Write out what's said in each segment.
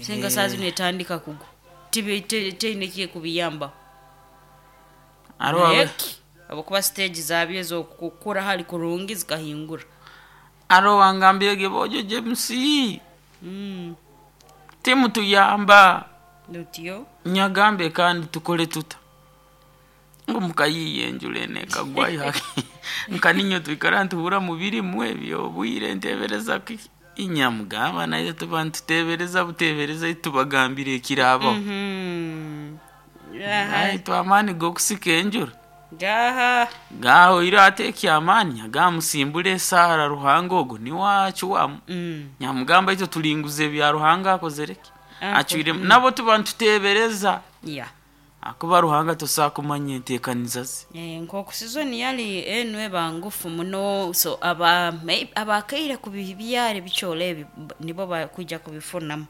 Senga saa zino etandika kugwa, teine kyekubiyambaho. Hariho Naye ki habwokuba stage zabyo ez'okukura hali kurungi zikahingura. Hariho owangambirege, "Bojo James, timutuyamba." Lutyo. Nyagambe, "Kandi tukole tuta?" Ngu mukayiiya enjura eno ekagwayo nka ninyo twikara ntuhurra mubirimu ebyo obwire ntebereza kiki. Nyamugamba, "Naitwe tuba nitutebereza butebereza, tubagambire ekirabaho." Naitwe amaani g'okusika enjura Gaha. Gahoire. Ate ekyamaani, nyagamba, "Musimbule esaara, Ruhanga ogu niwe acwamu." Nyamugamba, "Itwe tulinguza ebya Ruhanga akozere ki, acwiremu." Nabo tuba nitutebereza, akuba Ruhanga tosobola kumanya enteekaniza ze. Nk'oku season yali enu eba ngufu muno, so aba abakaire kubibyara ebicoolo ebi nibo bakwija kubifunamu,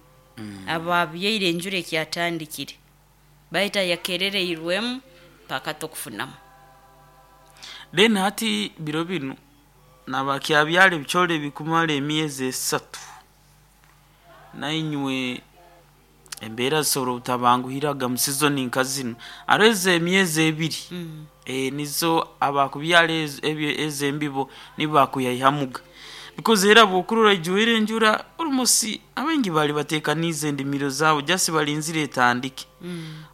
ababyaire enjura ekyatandikire, baitu ayakerereirwemu paka tokufunamu. Then hati biro binu nabakyabyara ebicoolo ebikumara emyezi 3, nainywe embeera zisobora obutabanguhiraga mu season nka zinu. Hariho ez'emyezi 2, nizo abakubyara ezo embibo nibo bakuyaihamuga, because era bwokurora ijwire enjura, almost abaingi bali batekaniize endimiro zaabo, just balinzire etandike.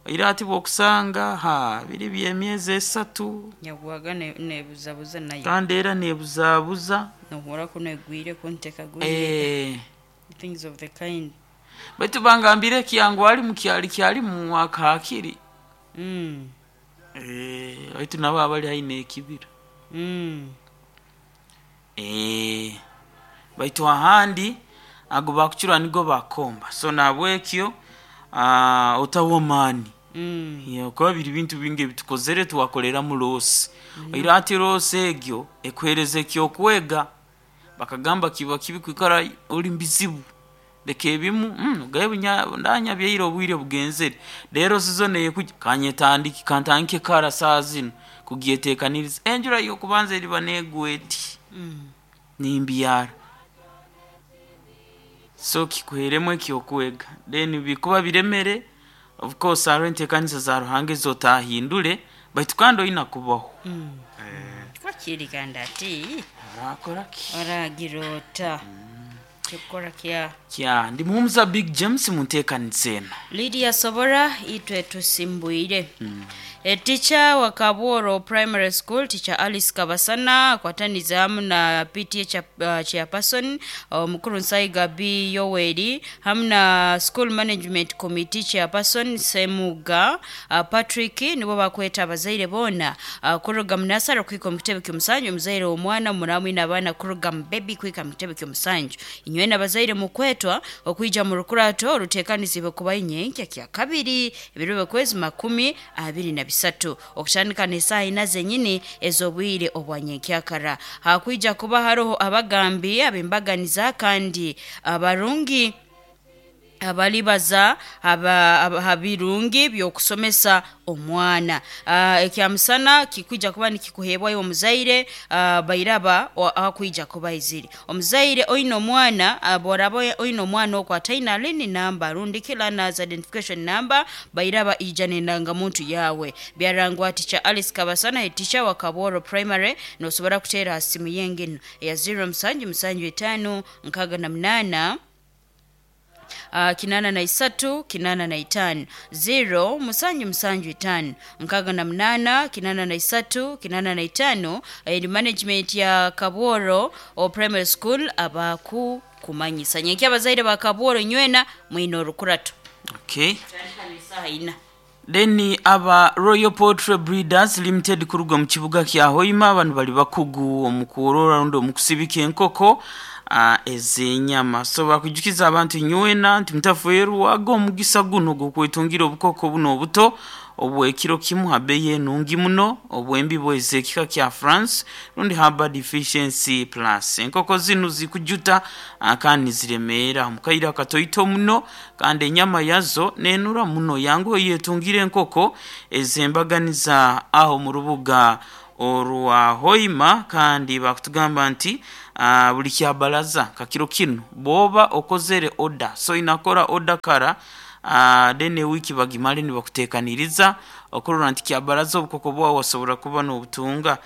Oira hati bwokusanga ha biri by'emyezi 3. Yagwaga nebuzabuza nayo. Kandi era nebuzabuza. Nohurra kunu egwire, kunu tekagwire. Things of the kind. Baitu bangambire ekyangu ali mukyali kyalimu akahakiri. Baitu nabo abali haihi n'ekibira. Baitu ahandi ago bakucura nigo bakomba, so nahabwekyo otahwa amaani. Kuba biri bintu bingi ebitukozere twakoleramu loss. Oira hati loss egyo ekuhereza ekyokwega. Bakagamba kiba kibi kwikara ori mubizibu, leka ebimu ogambe, "Ndanyabyaire obwire bugenzere, reero season ekujya kanyetandike, kantandike kara saaha zinu kugyetekaniriza. Enjura y'okubanza eriba negwa eti, nimbyara." So kikuheremu ekyokwega. Then bikuba biremere, of course hariho enteekaniza za Ruhanga ezotahindure, baitu kandi oina kubaho. Wakiri kandi ati Orakora ki? Oragira ota kyokukora kya Kya ndi Muhumuza Big James mu nteekaniza eno. Lydia Sobora, itwe tusimbwire. Teacher wa Kabworo Primary School, Teacher Alice Kabasana, akwatanize hamu na PTA chairperson omukuru Nsaiga B Yoweri, hamu na School Management Committee chairperson Semuga Patrick, nibo bakweta abazaire boona kuruga mu nasara kuhika omu kitebe ky'omusanju, omuzaire w'omwana muramwine abaana kuruga mu baby kuhika mu kitebe ky'omusanju. Inywena abazaire mukwetwa okwija mu rukurato oruteekanizibwe kuba nyenkya kya kabiri ebiro by'okwezi 23 okutandika n'esaaha 4 zenyini ez'obwire obwa nyenkyakara. Hakwija kuba haroho abagambi ab'embaganiza kandi abarungi abalibaza ha birungi by'okusomesa omwana. Ekyamusana kikwija kuba nikikuheebwayo omuzaire, bairaba ahakwija kuba aizire. Omuzaire oine omwana, bworaba oine omwana oku ataine learning number rundi ki learners identification number, bairaba ija n'endangamuntu yawe. Byarangwa Teacher Alice Kabasana, head teacher wa Kabworo Primary. Nosobora kuteera ha simu yenginu eya 0775 68 83 85, 0775 68 83 85. Eri management ya Kabworo o Primary School abaku kumanyisa. Nyenkya abazaire ba Kabworo nywena mwine orukurato. Tandika n'esaaha 4. Then aba Royal Poultry Breeders Limited kuruga mu kibuga kya Hoima, banu bali bakugu omu kworora rundi omu kusibika enkoko ez'enyama. So bakwijukiza abantu nywena nti mutafeerwaga omugisa guno gw'okwetungira obukoko buno obuto obw'ekiro kimu ha beeyi enungi muno, obw'embibo ez'ekika kya France rundi Harvard Efficiency Plus. Enkoko zinu zikujuta kandi niziremeera omu kaire akatoito muno, kandi enyama yazo nenura muno. Yanguha oyetungire enkoko ez'embaganiza aho mu rubuga Orwa Hoima. Kandi bakutugamba nti buli kyabalaza kakiro kinu bwoba okozere oda, so inakora oda kara, then ewiki bagimale nibakutekaniriza okurora nti kyabaraza obukoko bwawe wasobora kuba n'obutunga.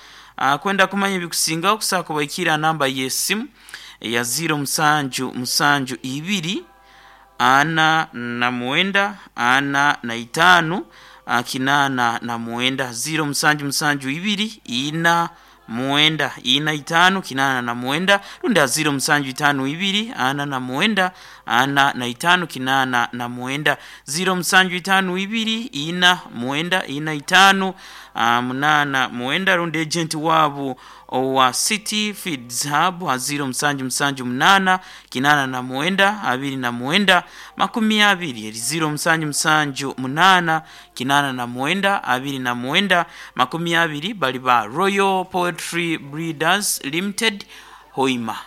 Kwenda kumanya ebikusingaho, kusobola kubaikira namba y'esimu eya 0772 49 45 89, 0772 4 9 4 5 89, rundi 0752 49 45 89, 0752 4 9 4 5 89, rundi agent wabu owa City Feeds Hub ha 0778 89 29 20, eri 0778 89 29 20, bali ba Royal Poetry Breeders Limited, Hoima.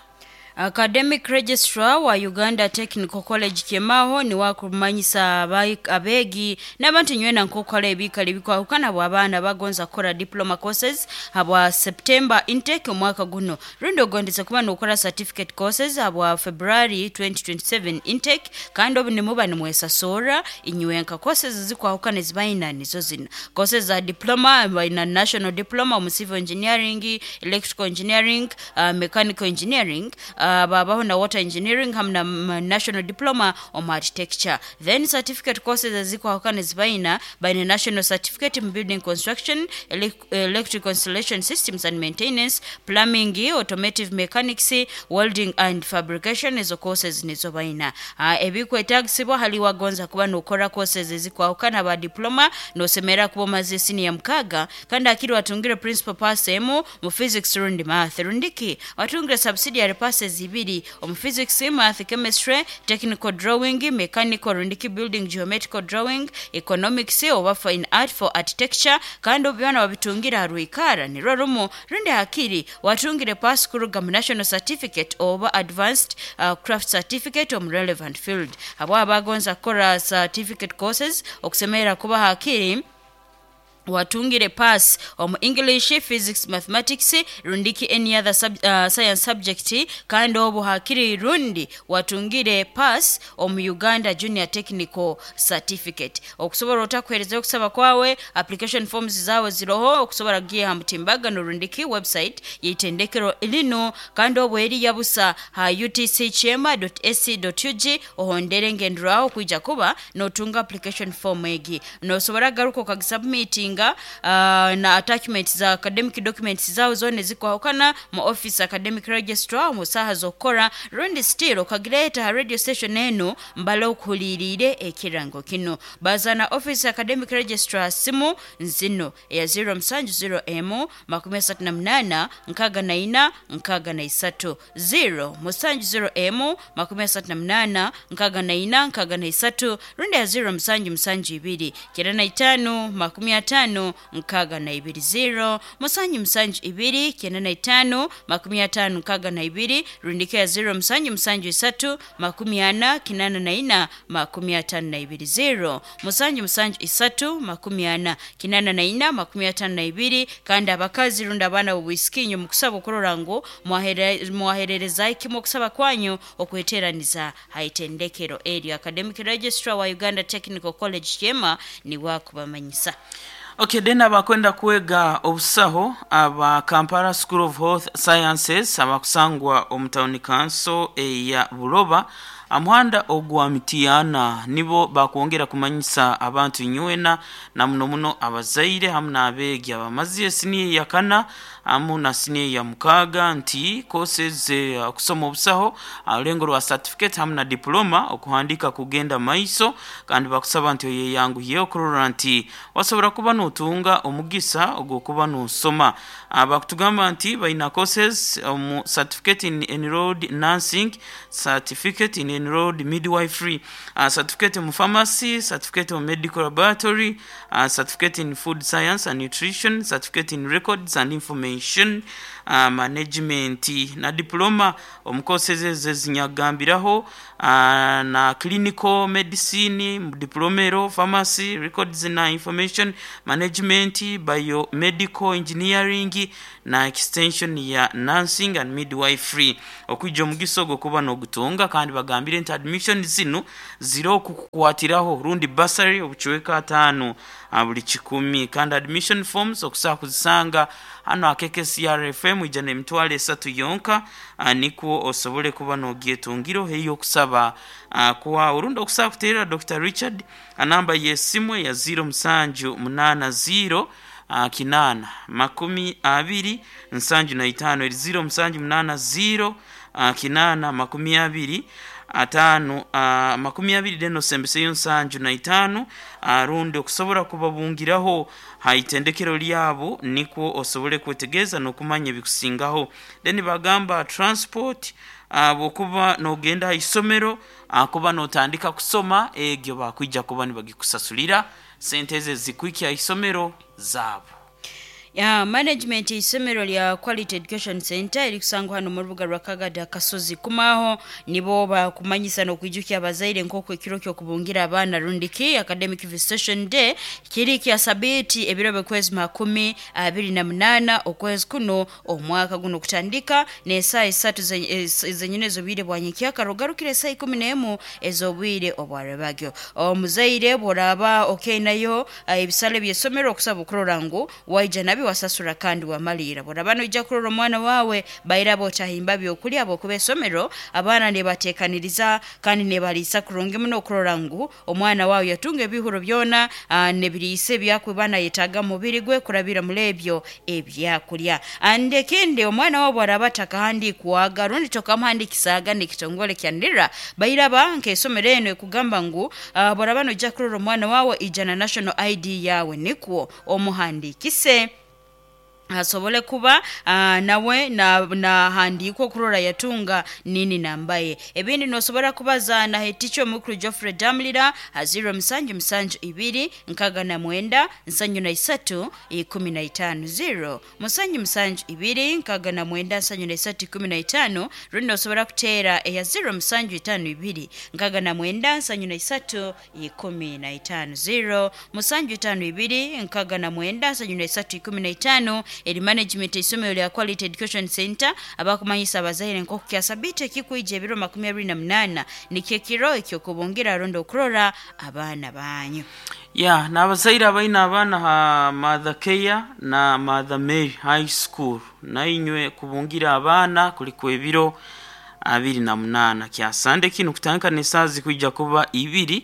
Academic Registrar wa Uganda Technical College Kyemaho ni wakumanyisa abeegi n'abantu nywena nk'okukola ebiikala ebikwahukana bw'abaana bagonza kukora diploma courses habwa September intake omwaka guno, rundi ogondeze kuba n'okora certificate courses habwa February 2027 intake. Kandi obu nimuba nimwesasoora inywenka, courses zikwahukana ezibayina nizo zino: courses za diploma, bayina national diploma omu civil engineering, electrical engineering, mechanical engineering, babaho na water engineering hamu na national diploma omu architecture. Then certificate courses ezikwahukana ezibayina, bayina national certificate mu building construction, electrical installation systems and maintenance, plumbing, automotive mechanics, welding and fabrication. Ezo courses nizo bayina. Ebikwetagisibwa hali wagonza kuba nokora courses ezikwahukana ba diploma, nosemera kuba omaze siniya 6, kandi akiri watungire principal pass emu mu physics rundi math, rundiki watungire subsidiary passes ibiri omu physics, math, chemistry, technical drawing, mechanical rundiki building geometrical drawing, economics oba fine art for architecture. Kandi obu byona wabitungira harwikara nirwo rumu, rundi hakiri watungire pass kuruga mu national certificate oba advanced craft certificate omu relevant field. Abo abagonza kukora certificate courses, okusemera kuba hakiri watungire pass omu English, physics, mathematics rundiki any other science subject. Kandi obu hakiri rundi watungire pass omu Uganda Junior Technical Certificate. Okusobola otakuhereza okusaba kwawe, application forms zawe ziroho okusobola kugiha ha mutimbagano rundiki website yeitendekero lino, kandi obu eri yabusa ha utckyema.ac.ug. Ohondere ngenderaho kwija kuba notunga application form egi, nosobora garuka okagisubmitinga na attachments za academic documents zawe zona ezikwahukana mu office academic registrar mu saha z'okukora, rundi still okagireta ha radio station enu mbale okuhuliriire ekirango kino. Bazana office academic registrar, simu nzino eya 070 m 38 64 63, 0 70 m 38 64 63, rundi ya 0 7 7 2 95 50 62, 0 7 7 2 95 50 62, rundika ya 0 7 7 3 40 84 52, 0 7 7 3 40 84 52. Kandi abakazi rundi abaana b'obwisikinyo, mukusaba okurora ngu mwaherereza ikimu okusaba kwanyu okweteraniza haitendekero eryo. Academic Registrar wa Uganda Technical College Kyema niwakubamanyisa. Okay, then abakwenda kwega obusaho aba Kampala School of Health Sciences abakusangwa omu town council eya Buloba, amuhanda ogwa Mitiyana, nibo bakwongera kumanyisa abantu nywena na muno muno abazaire hamu n'abeegi abamazi esiniya ya 4 hamu na siniya ya 6 nti courses okusoma obusaho alulengo rwa certificate hamu na diploma okuhandika kugenda maiso. Kandi bakusaba nti oyeyanguhiye okurora nti wasobora kuba notunga omugisa ogw'okuba nosoma. Bakutugamba nti balina courses omu certificate in enrolled nursing, certificate in Enrolled Midwifery, certificate mu Pharmacy, certificate mu Medical Laboratory, certificate in Food Science and Nutrition, certificate in Records and Information Management na diploma omu courses ezo ezinyagambiraho, na Clinical Medicine diploma ero, Pharmacy, Records na Information Management, Biomedical Engineering na extension ya Nursing and Midwifery. Okwija omugisa ogwo kuba n'ogutunga, kandi bagambire nti admission zinu ziri okukukwatiraho rundi bursary obucweka 5 buli 100. Kandi admission forms okusobola kuzisanga hano akeke CRFM, ija n'30,000 yonka, nikwo osobole kuba n'ogyetungiro heyo okusaba kwa orundi okusaba kuterera Dr. Richard anamba y'esimu ya 0780 8 20 75, eri 0780 8 20 5 20 deno sembeseyo 75, rundi okusobora kubabungiraho haitendekero lyabo nikwo osobole kwetegereza n'okumanya ebikusingaho. Then bagamba transport, bwokuba n'ogenda ha isomero, kuba n'otandika kusoma, egyo bakwija kuba nibagikusasulira sente ezo ezikuhikya ha isomero zaabo. Ya management isomero lya Quality Education Center erikusangwa hano mu rubuga rwa Kagada Kasozi kumaho, nibo bakumanyisa n'okwijukya abazaire nk'oku ekiro ky'okubungira abaana rundiki academic visitation day kiri kya sabiti ebiro by'okwezi 28 okwezi kuno omwaka guno, kutandika n'esaaha 3 zenyine ez'obwire bwa nyenkyakara ogarukire esaaha 11 ez'obwire obwarebagyo. Omuzaire bw'oraaba okeinayo ebisale by'essomero, okusaba okurora ngu waija nabyo wasasura kandi wamalira. Bworaba noija kurora omwana wawe, bairaba otahimba byokulya, habwokuba esomero abaana nebateekaniriza kandi nebaliisa kurungi muno okurora ngu omwana wawe yatunga ebihuro byona, nebiriisa ebyakuba nayetaaga mu mubiri gwe kurabira muri ebyo ebyakulya. And ekindi, omwana wawe bwaraba atakahandiikwaga rundi tokamuhandikisaaga n'ekitongole kya NIRA, bairaba nk'esomero eno ekugamba ngu bworaba noija kurora omwana wawe, ija na national ID yawe nikwo omuhandikise asobole kuba nawe nahandiikwa okurora yatunga nini nambaye. Ebindi nosobora kubaza na heticho omukuru Geoffrey Damlira ha 0772 69 73 15, 0772 69 73 15, rundi nosobora kuteera eya 0752 69 73 15, 0752 69 73 15. Eri management isomero lya Quality Education Center abakumanyisa abazaire nk'oku kya sabiti ekikwija ebiro 28 nikyo ekiro ekyokubungira rundi okurora abaana banyu. Ya n'abazaire abaine abaana ha Mother Care na Mother Mary High School, nainywe kubungira abaana kuliku ebiro 28 kya sande kinu, kutandika n'esaaha zikwija kuba 2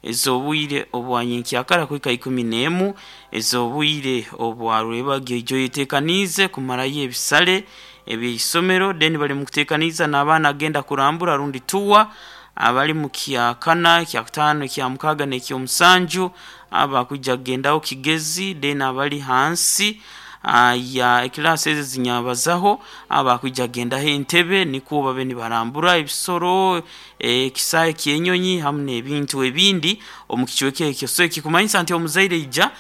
ez'obwire obwanyenkyakara kuhika 11 ez'obwire obwarwebagyo. Ijo yeteekaniize kumarayo ebisale eby'eisomero, then bali mu kuteekaniza n'abaana agenda kurambura rundi tuwa abali mu kyakana, kyakutaano, ekyamukaga n'ekyomusanju, abakwija kugendaho Kigezi, then abali hansi ya ekilasi ezo zinyabazaho abakwija kugendaho Entebe, nikwo babe nibarambura ebisoro, ekisaahe ky'enyonyi hamu n'ebintu ebindi omu kicweka ekyo. So ekikumanyisa nti omuzaire ija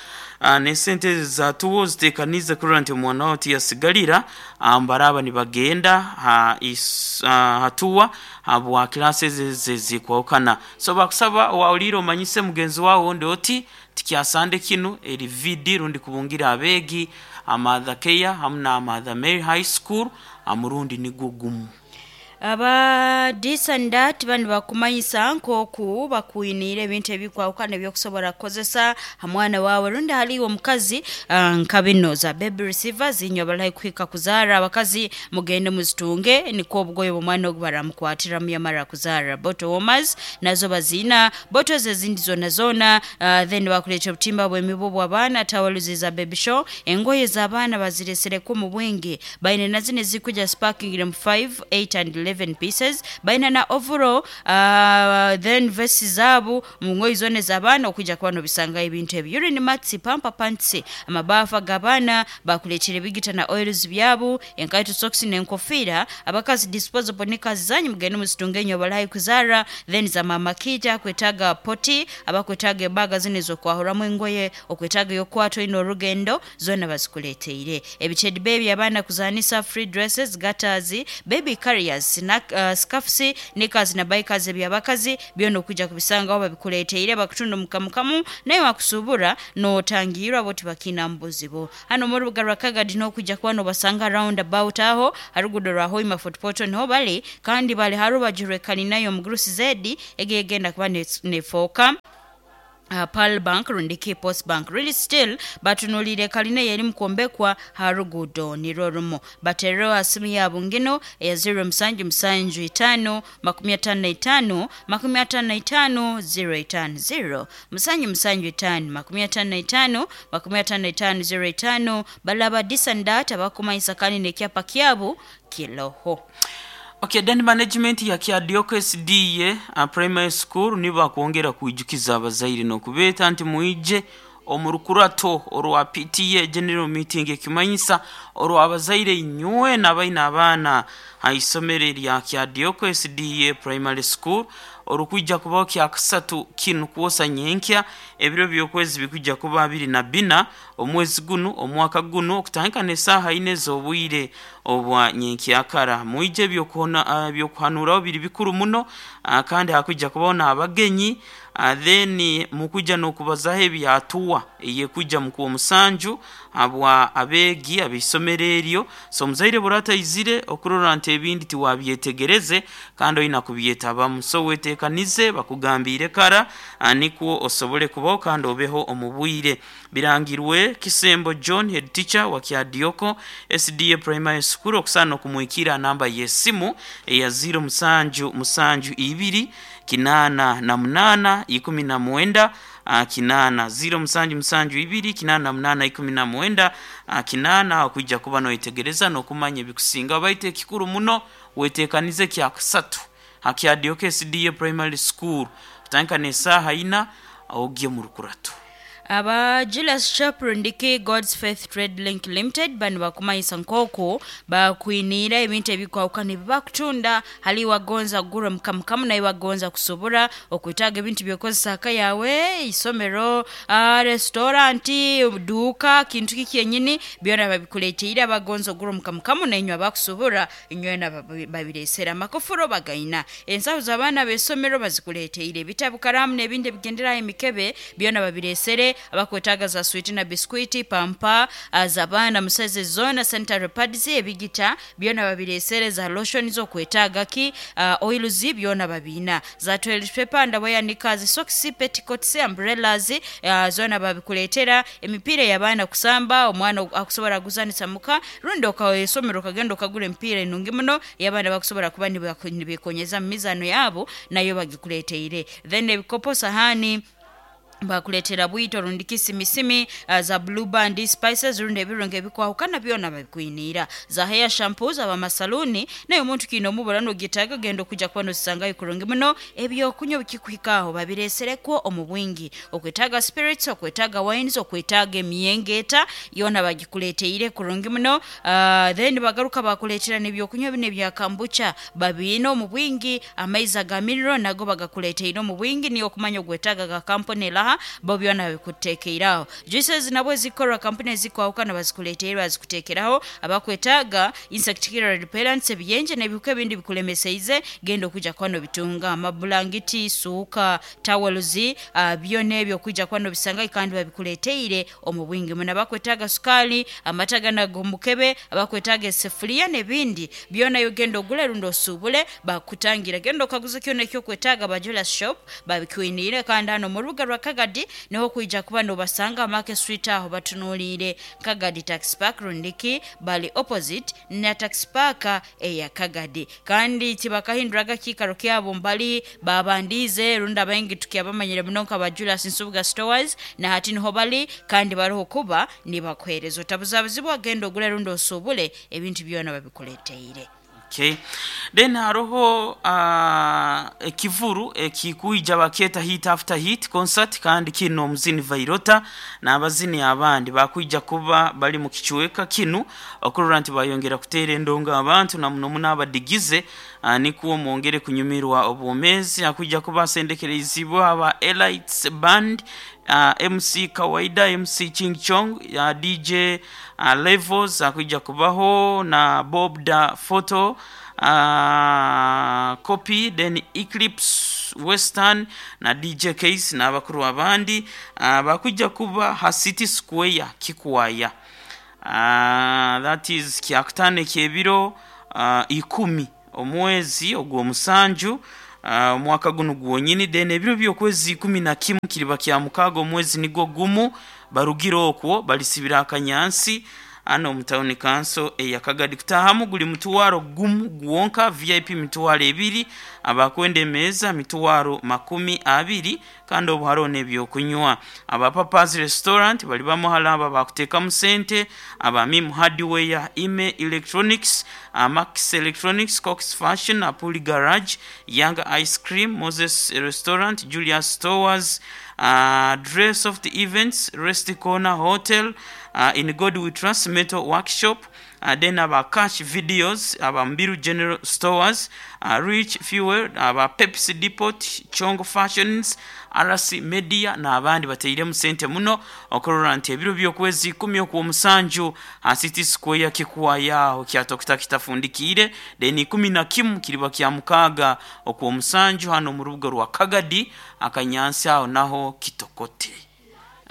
n'esente ezo zatuwo ziteekaniize kurora nti omwana wawe tiyasigalira baraba nibagenda hatuwa habwa kilasi ezo ezikwahukana. So bakusaba wawulire omanyise mugenzi wawe ondi oti tikyasande kinu eri vidi rundi kubungira abeegi Mother Care hamu na Mother Mary High School amurundi nigwo gumu. Aba disandat bani bakumanyisa nk'oku bakwiniire ebintu ebikwahukana ebyokusobora kukozesa ha mwana wawe rundi haliwe omukazi, nka bino za baby receivers, inywe abali kuhika kuzaara abakazi mugende muzitunge nikwo obugoye bw'omwana ogu baramukwatiramu yamara kuzaara. Bottle warmers nazo baziina, bottles ezindi zona zona, then bakuleetera obutimba bw'emibu bw'abaana, towels za baby show, engoye z'abaana baziresereko mu bwingi, baine na zino ezikuja sparking mu 5, 8 and 11. 11 pieces baina na overall then vesti zaabo mu ngoyi zona ez'abaana okwija kuba nobisanga ebintu ebyo urine mats, pamper pants, amabafa g'abaana bakuleetera ebigita na oils byabo, enkaito, socks n'enkofiira. Abakazi disposable knickers zanyu mugende muzitunge enyo balahi kuzara. Then za mama kita kwetaaga poti, abakwetaaga ebaga zino ez'okwahuramu engoye, okwetaaga ey'okukwata oine orugendo, zona bazikuleeteire. Ebitedi baby abaana kuzanisa, free dresses, gaiters, baby carriers, snack, scarfs, knickers na bikers ebyabakazi byona okwijja kubisangaho babikuleeteire, bakutunda omukamukamu naye wakusuubura n'otangirwa bo tibakina mu buzibu. Hano mu rubuga rwa Kagadi n'okwijja kuba nobasanga round about aho harugudo rwa Hoima Fort Portal niho bali, kandi bali harubaju rw'ekalina y'omugurusi zedi egegenda kuba nefooka Pearl Bank rundi Post Bank. Really still batunulire kalina yeri mukwombekwa ha rugudo nirwo rumu. Batereho ha simu yabo ngino eya 0775 55 55 050 775 55 55 05. Balaba disandat abakumanyisa kandi nekyapa kyabo kiloho. Okay, then management ya Kyadioko SDA Primary School nibo bakwongera kwijukiza abazaire n'okubeeta nti mwije omu rukurato orwa PTA General Meeting, ekimanyisa orwa abazaire inywe n'abaine abaana ha isomero erya Kyadioko SDA Primary School, orukwija kubaho kyakasatu kinu kwosa nyenkya, ebiro by'okwezi bikwijja kuba 24 omwezi guno omwaka guno, okutandika n'esaaha 4 ez'obwire obwa nyenkyakara. Mwije, ebyokuhanuraho biri bikuru muno, kandi hakwija kubaho n'abagenyi. Then mukwijja n'okubazaho ebyatuwa eyekwijja mukuwa omusanju habwa abeegi ab'isomero eryo. So omuzaire burataizire okurora nti ebindi tiwabyetegereze kandi oina kubyetabamu, so wetekanize bakugambiire kara, nikwo osobole kubaho kandi obeho omu bwire. Birangirwe Kisembo John, head teacher wa Kyadioko SDA Primary School. Okusaana okumwikira namba y'esimu eya 0772 88 19 8, 0772 88 19 8, okwijja kuba noyetegereza n'okumanya ebikusinga. Baitu ekikuru muno, wetekanize kyakasatu ha Kyadioko SDA Primary School kutandika n'esaaha 4, ogye mu rukurato. Aba Julius Shop rundiki God's Faith Trade Link Limited bano bakumanyisa nk'oku bakwiniira ebintu ebikwahukana ebi bakutunda. Hali wagonza kugura mukamukamu naye wagonza kusobora okwetaaga ebintu byokozesa aka yawe, isomero, restauranti, duuka, kintu ki kyenyini, byona babikuleteire. Abagonza ogura omukamukamu nainywe abakusobora inywena babiresera. Amakofuro bagaina, ensaho z'abaana b'esomero bazikuleteire, ebitabu, karamu n'ebindi ebigenderaho emikebe byona babiresere. Abakwetaaga za switi na biskwiti, pampa z'abaana musaize zona, sanitary pads, ebigita byona babiresere, za lotion z'okwetaaga ki, oils byona babiina, za toilet paper, underwear, knickers, socks, petticoats, umbrellas, zona babikuleetera. Emipiira y'abaana kusamba, omwana akusobora kuguzanisa muka rundi okaesomero okagenda okagura emipiira enungi muno y'abaana bakusobora kuba nibekonyeza mu mizaano yabo, nayo bagikuleteire. Then ebikopo, sahani bakuleetera, bwito rundi kisimisimi, za Blue Band, spices rundi ebirungo ebikwahukana byona babikwiniira, za hair shampoos abamasaluni naye omuntu kiine omubura nogitaaga genda okujja kuba nozisangayo kurungi muno. Ebyokunywa bikikuhikaho babireeserekwo omu bwingi, okwetaaga spirits, okwetaaga wines, okwetaaga emyengeta yoona bagikuleeteire kurungi muno. Then bagaruka bakuleetera n'ebyokunywa bino ebya kombucha babiine omu bwingi. Amaizi aga mineral nago bagakuleeteire omu bwingi, niyo okumanya ogwetaaga ga kampuni eraha, bo byona babikutekeiraho. Juices nabwo zikorwa kampuni ezikwahukana bazikuleteire, bazikutekeraho. Abakwetaaga insect killer repellents, ebiyenje n'ebihuka ebindi bikulemeseize, genda okwijja kuba nobitunga. Amabulangiti, suuka, towels, byona ebyo okwijja kuba nobisanga kandi babikuleteire omu bwingi muno. Abakwetaaga sukaali, amata gana ag'omukebe, abakwetaaga esefuliya n'ebindi byona, yo genda ogule rundi osuubule bakutangira. Genda okaguza kyona ekyokwetaaga, ba Julius Shop babikwiniire. Kandi hano mu rubuga rwa Kagadi niho kwija kuba nobasanga, Market Street aho batunuliire Kagadi Taxi Park rundiki bali opposite na taxi park eya Kagadi. Kandi tibakahinduraga kiikaro kyabo mbali babandize rundi abaingi tukyabamanyire muno nka ba Julius Nsubuga Stores, na hati niho bali kandi bariho kuba nibakuheereza. Otabuzabuzibwa, genda ogule rundi osuubule ebintu byona babikuleteire. Okay. Then haroho ekivuru ekikuija baketa Hit After Hit concert, kandi kino omuzini Vairota n'abazini abandi bakwija kuba bali mu kichweka kinu okurora nti bayongera kuteera endongo abantu na muno muno abadigize, nikuwo mwongere kunyumirwa obwomezi. Akwija kuba asendekerezibwa aba Elites Band, MC Kawaida, MC Ching Chong, DJ Levels, akwija kubaho na Bob da Photo Copy, then Eclipse Western na DJ Case n'abakuru abandi, bakwija kuba ha City Square Kikwaya. That is kyakutano ekyebiro 10 omwezi ogw'omusanju, omwaka guno gwonyini. Then ebiro by'okwezi 11 kiriba kya mukaaga omwezi nigwo gumu, barugire okwo balisibira akanyansi ano omu town council eyakagadi. Kutahamu guli mutwaro gumu gwonka, VIP 20,000, abakwenda emeeza 20,000, kandi obu hariho n'ebyokunywa. Aba Papas Restaurant bali bamuhala, aba bakuteekamu sente, aba Mim Hardware, Ime Electronics, Max Electronics, Cox Fashion, Apuli Garage, Young Ice Cream, Moses Restaurant, Julius Stores, Dress of the Events, Rest Corner Hotel, In God We Trust Metal Workshop, then aba Cash Videos, aba Mbiru General Stores, Rich Fuel, aba Pepsi Depot, Chongo Fashions, RC Media n'abandi bateiremu sente muno okurora nti ebiro by'okwezi 10 okw'omusanju ha City Square Kikwaya kyatokita kitafundikiire. Then 11 kiriba kya mukaaga okw'omusanju hano mu rubuga rwa Kagadi akanyansi aho naho kitokote.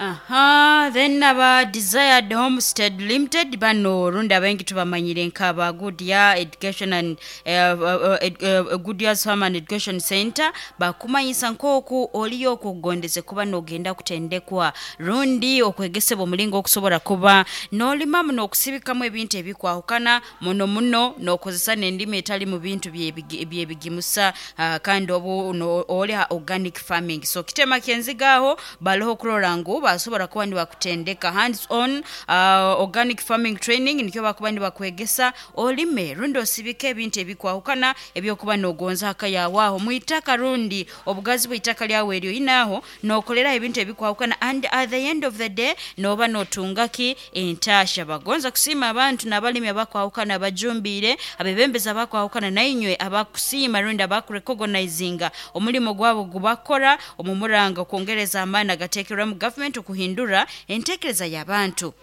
Aha, then aba Desired Homestead Limited bano rundi abengi tubamanyire nk'aba Goodyear Education and Goodyear's Farm and Education Center, bakumanyisa nk'oku oliyo okugondeze kuba n'ogenda kutendekwa rundi okwegesebwa omulingo okusobola kuba n'olimamu n'okusibikamu ebintu ebikwahukana muno muno n'okozesa n'endimi etali mu bintu byebigimusa, kandi obu oli ha organic farming. So kitema kyenzigaho baliho okurora ngu basobola kuba nibakutendeka hands on organic farming training, nikyo bakuba nibakwegesa olime rundi osibike ebintu ebikwahukana ebyokuba nogonza haka yawe aho mwitaka rundi obugazi bw'itaka lyawe eryo inaho nokolera ebintu ebikwahukana, and at the end of the day noba notungaki entasha. Bagonza kusiima abantu n'abalimi abakwahukana abajumbiire abebembezi abakwahukana nainywe abakusiima rundi abakurecognizinga omulimo gwabo gubakora omumuranga okwongereza amaani agateekerwamu gavumenti okuhindura entekereza y'abantu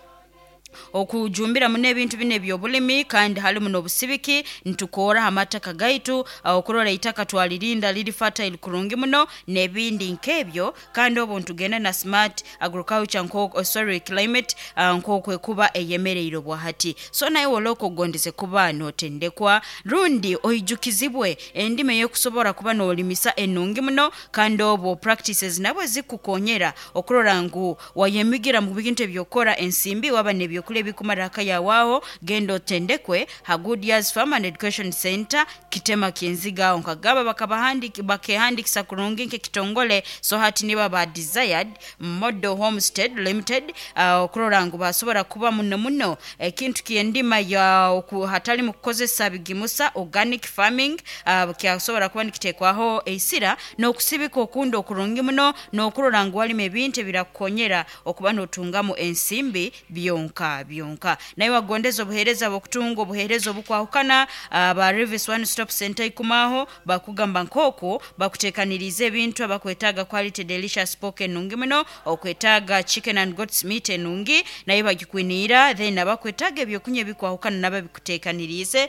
okujumbira muno ebintu bino ebyobulimi, kandi halimu n'obusibiki ntukora amataka gaitu, okurora itaka twalirinda liri fertile kurungi muno n'ebindi nk'ebyo, kandi obu ntugenda na smart agriculture nko sorry climate, nk'okwekuba eyemereire obwahati. So naye woloko ogondeze kuba notendekwa rundi oijukizibwe endima ey'okusobora kuba n'olimisa enungi muno, kandi obwo practices nabwo zikukonyera okurora ngu wayemigira mu bintu ebyokora ensimbi waba n'ebyokulya ebikumara haka yawaho. Genda otendekwe ha Goodyear's Farm and Education Center kitema kinzigaho nkagaba bakehandikisa kurungi nk'ekitongole. So hati niba ba Desired Model Homestead Limited, okurora ngu basobora kuba muno muno ekintu ky'endima ya hatali mu kukozesa bigimusa organic farming, kyasobora kuba nikitekwaho eisira n'okusibika okundi okurungi muno n'okurora ngu walima ebintu ebirakukonyera okuba n'otungamu ensimbi byonka byonka. Naye wagondeza obuheereza bw'okutunga obuheereza obukwahukana, ba Revis One Stop Center ikumaho bakugamba nk'oku bakuteekaniriza ebintu abakwetaaga quality delicious pork enungi muno, okwetaaga chicken and goat's meat enungi naye bagikwiniira, then abakwetaaga ebyokunywa ebikwahukana nabo bikuteekaniriize,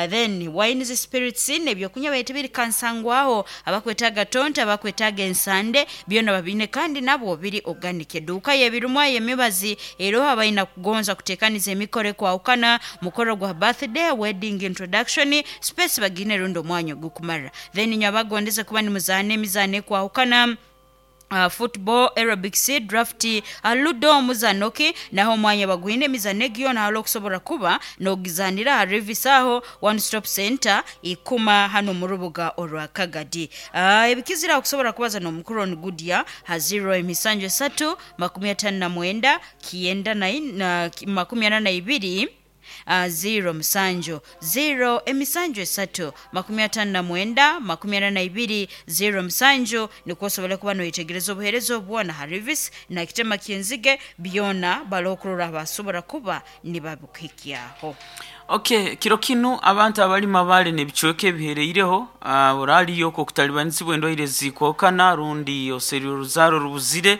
then wines, spirits n'ebyokunywa baitu biri kansangwaho, abakwetaaga tonto, abakwetaaga ensande byona babiine kandi nabwo biri organic. Eduuka y'ebirumwa y'emibazi eroho abaina kugonza kuteekaniza emikoro ekwahukana, mukoro gwa birthday, wedding, introduction space bagine rundi omwanya ogukumara. Then inywe abagondeze kuba nimuzaana emizaano ekwahukana, football, aerobics, draft, ludo, omuzano ki naho omwanya bagwine emizano egi yona hali okusobola kuba n'ogizanira ha Revis aho One Stop Center ikuma hano mu rubuga orwa Kagadi. Ebikizira okusobola kubaza n'omukuru on Goodyear ha 0 emisanju esatu 59 9 na 42. 0 musanju 0 emisanju esatu 59 42 0 musanju, nikwo osobole kuba noyetegereza obuheereza obwona ha Rivis na kitema kyenzige byona balokurora basobora kuba nibabukuhikyaho. Okay, kiro kinu abantu abalima bale nebicweka ebihereireho, oraliyo okwo okutalibanisibwa endwaire zikwokana rundi oseri oruzaro rubuzire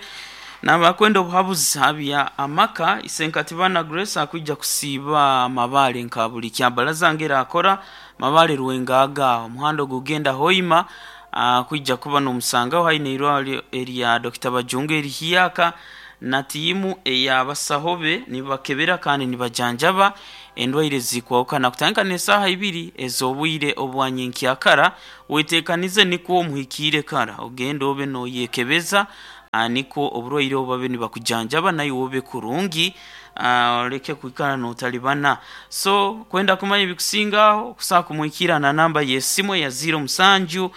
nabakwenda obuhabuzi habya amaka, Isenkatibana Grace akwija kusiiba amabale nka buli kyabalaza ngera akora mabale rwengaga omuhanda ogugenda Hoima, kwija kuba nomusangaho haine irwaliro erya Dr. Bajunga erihiaka na tiimu eyabasaho be nibakebera kandi nibajanjaba endwaire zikwahukana kutandika n'esaaha ibiri ez'obwire obwanyenkyakara. Wetekanize nikwo omuhikiire kara ogende obe noyekebeza, nikwo oburwaire obu babe nibakujanjaba naye obe kurungi, oleke kwikara notalibana. So kwenda kumanya ebikusingaho kusobola kumuhikira na namba y'esimu eya 0 musanju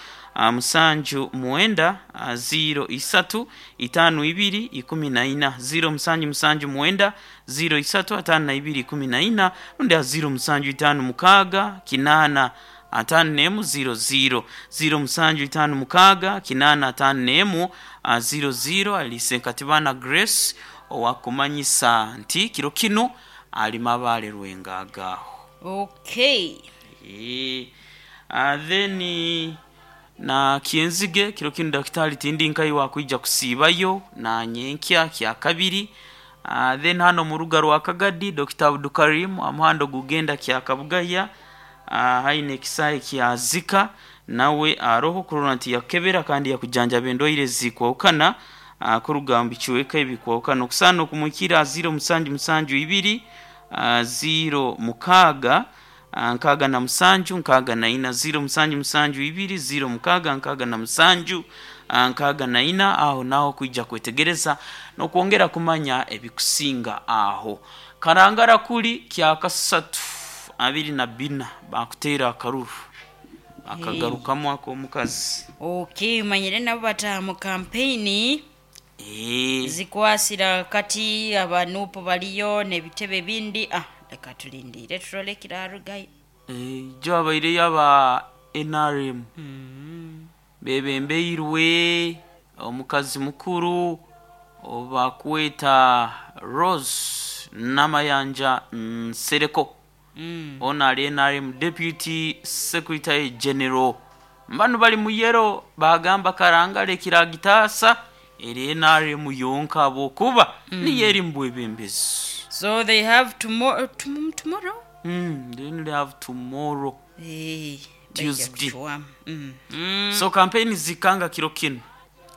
musanju mwenda 0 isatu 52 14, 0 musanju musanju mwenda 0 isatu 52 14, rundi 0 musanju 5 mukaaga 8 51 00, 0 musanju 5 mukaaga 8 51 00. Ali Senkatibana Grace owakumanyisa nti kiro kinu ali mabale rwengagaho. Okay. Then na kyenzige kiro kinu daktari tindi nkai wakwija kusiibayo na nyenkya kya kabiri. Then hano mu ruga rwa Kagadi Dr. Abdukarim amuhando gugenda kya Kabugaya, haine ekisae kya Zika nawe aroho kurora nti yakebera kandi yakujanjaba endwaire zikwahukana, kuruga mu bicweka ebikwahukana. Okusaana okumwikira 0 musanju musanju 2 0 mukaaga 67 64, 0 musanju musanju 2 0 mukaaga 67 64. Aho naho kwija kwetegereza n'okwongera kumanya ebikusinga aho. Karangara kuli kyakasatu 24 bakuteera akaruru akagarukamu ak'omukazi. Okay, manyire nabo bataha mu kampeyini zikwasira kati abanupu baliyo n'ebitebe bindi, leka tulindire turole kirarugayo. Jo abaireyo aba NRM bebembeirwe omukazi mukuru obakweta Rose Namayanja Nsereko. Ono ali NRM Deputy Secretary General. Mbanu bali muyero bagamba karangale kiragitasa eri NRM yonka abokuba niyo eri mu bwebembezi. So they have tomorrow, tomorrow? They only have tomorrow. Hey, Tuesday. So campaign zikanga kiro kinu.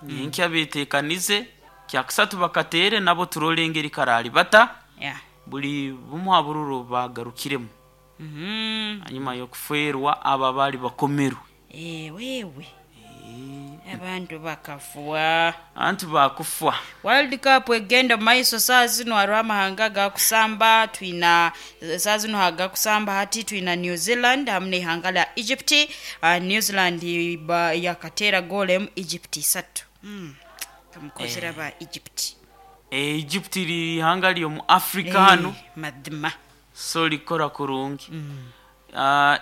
Nyenkya betekanize kyakusatu bakatere nabo turole engeri karali bata. Buli bumwe abururu bagarukiremu. Hanyuma y'okufeerwa aba bali bakomerwe. Wewe. Abantu bakafwa. Abantu bakufwa. World Cup egenda maiso saa zino hariho amahanga gakusamba, twina saa zino hagakusamba hati twina New Zealand hamwe n'ihanga lya Egypt. New Zealand yakatera goal emu Egypt isatu. Kamukozera ba Egypt. Egypt riri ihanga ryo mu Africa hano. Madima. So rikora kurungi.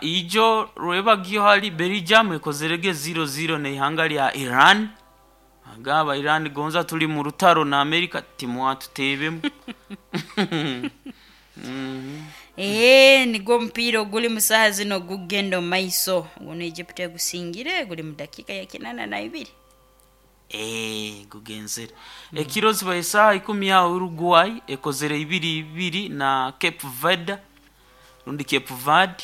Ijo rwebagyo hari Belgium ekozerege 0-0 n'ihanga lya Iran. Agaba Iran gonza tuli mu rutaro na America timwatutebemu. Nigwo mpira oguli mu saha zino gugenda omu maiso. Guno Egypt egusingire guli mu dakika ya 82. Gugenzere. Ekiro ziba esaha 10 ya Uruguay ekozere 2-2 na Cape Verde. Rundi Cape Verde.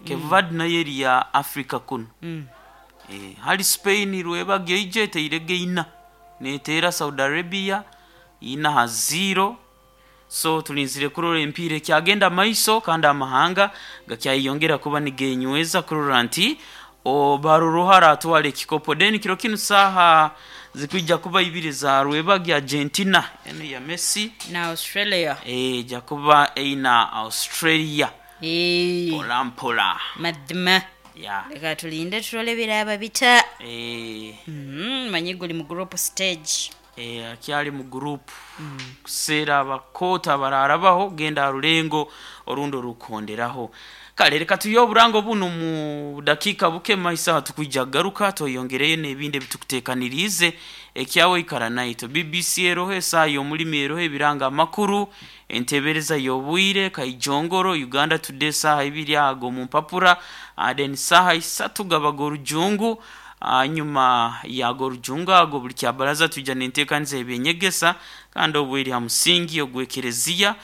Cape Verde nayo eri ya Africa kuno. Hali Spain rwebagyo ije eteirege ina. Neteera Saudi Arabia 4-0. So tulinzire kurora empiira ekyagenda maiso kandi amahanga gakyayongera kuba nigenyweza kurora nti baruruhara atwara ekikopo. Then kiro kinu saha zikwija kuba ibiri za rwebagyo Argentina eno ya Messi na Australia. Ja kuba eina Australia. Mpola mpola. Madima. Leka tulinde turole biraba bita. Manyi guli mu group stage. Akyali mu group kuseera abakoota abararabaho genda aha rulengo orundi orukonderaho. Kale reka tuye oburango buno mu dakiika buke maiso aha tukwija kugaruka tweyongereyo n'ebindi ebitukuteekaniriize. Ekyawe ikara naitwe. BBC eroho, esaaha y'omulimi eroho, ebiranga amakuru, entebereza y'obwire, Kaijongoro, Uganda Today esaaha ibiri ago omu mpapura, then saaha isatu gabaga orujungu. Hanyuma yago orujungu ago buli kyabaraza twija n'enteekaniza y'ebyenyegesa kandi obu eri ha musingi ogw'ekereziya,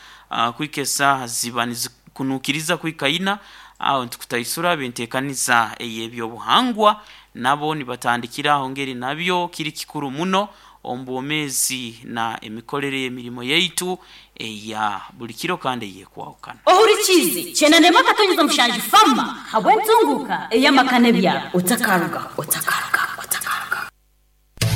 kuhika esaaha ziba nizikunukiriza kuhika ina, aho nitukutaisura benteekaniza ey'ebyobuhangwa nabo nibatandikira aho ngeri nabyo kiri kikuru muno omu bwomeezi na emikorere y'emirimo yaitu eya buli kiro kandi ey'ekwahukana. Ohurikiize 91.7 Fama habw'entunguka ey'amaka n'ebyaro. Otakaruga, otakaruga, otakaruga.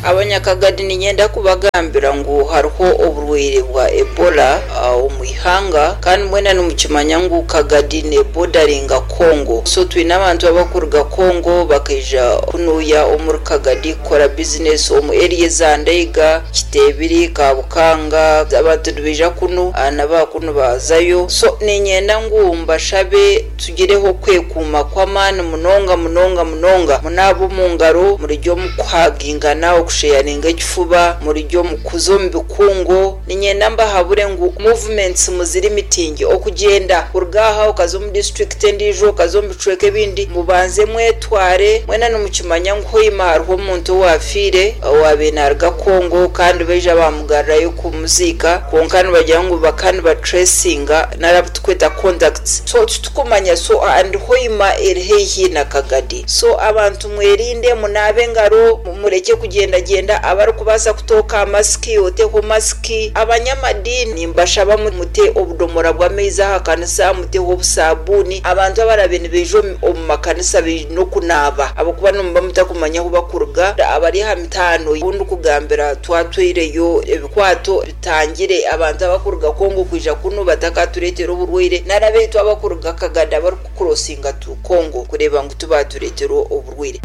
Abanyakagadi niinyenda kubagambira ngu hariho oburwaire bwa Ebola omu ihanga kandi mwena nimukimanya ngu Kagadi neebodaringa Congo. So twine abantu abakuruga Congo bakaija kunuuya omuri Kagadi kukora bizinesi omu area eza Ndeiga, Kiteebiri, Kabukanga, abantu nibaija kunu n'aba kunu bazayo. So niinyenda ngu mbashabe tugireho okwekuuma kw'amaani munonga munonga munonga. Munaabe omu ngaro, murugye omu kuhagingana, okusheyaringa ekifuba, murugye omu kuza omu bikungu. Niinyenda mbahabure ngu movements muzirimitinge, okugyenda kuruga aha okaza omu disiturikiti endiijo, okaza omu bicweka ebindi, mubanze mwetware. Mwena nimukimanya ngu Hoima hariho omuntu owaafiire owaabaire naaruga Congo kandi baija baamugarurayo kumuziika kwonka nibagira ngu bakaba nibatracinga nari abu turikweta contacts so titukumanya so and Hoima eri haihi na Kagadi so abantu mwerinde, munaabe engaro, murekye kugyendagyenda, abarikubaasa kutooka aha masiki oteho masiki. Abanyamadiini nimbashaba mute obudomora bw'amaizi aha kanisa, muteho obusaabuuni. Abantu abarabe nibaija omu makanisa baine okunaaba ahabw'okuba nimuba mutakumanya ahu bakuruga. Abari aha mitaano abu ndikugambira twatwaireyo ebikwato bitangire abantu abakuruga Congo kwija kunu batakatureetera oburwaire nari abaitu abakuruga Kagadi abarikukurosinga to Congo kureeba ngu tibaatureetera oburwaire.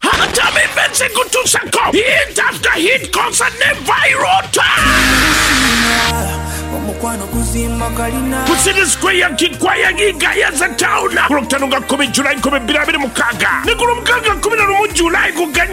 Hataba events ekutusako hit after hit concert ne Vyroota! Ku City Square Kikwaya Gayaza Town ku Lwokutaano nga 10 July 2026 ne ku Lwomukaaga 11 July kuganya.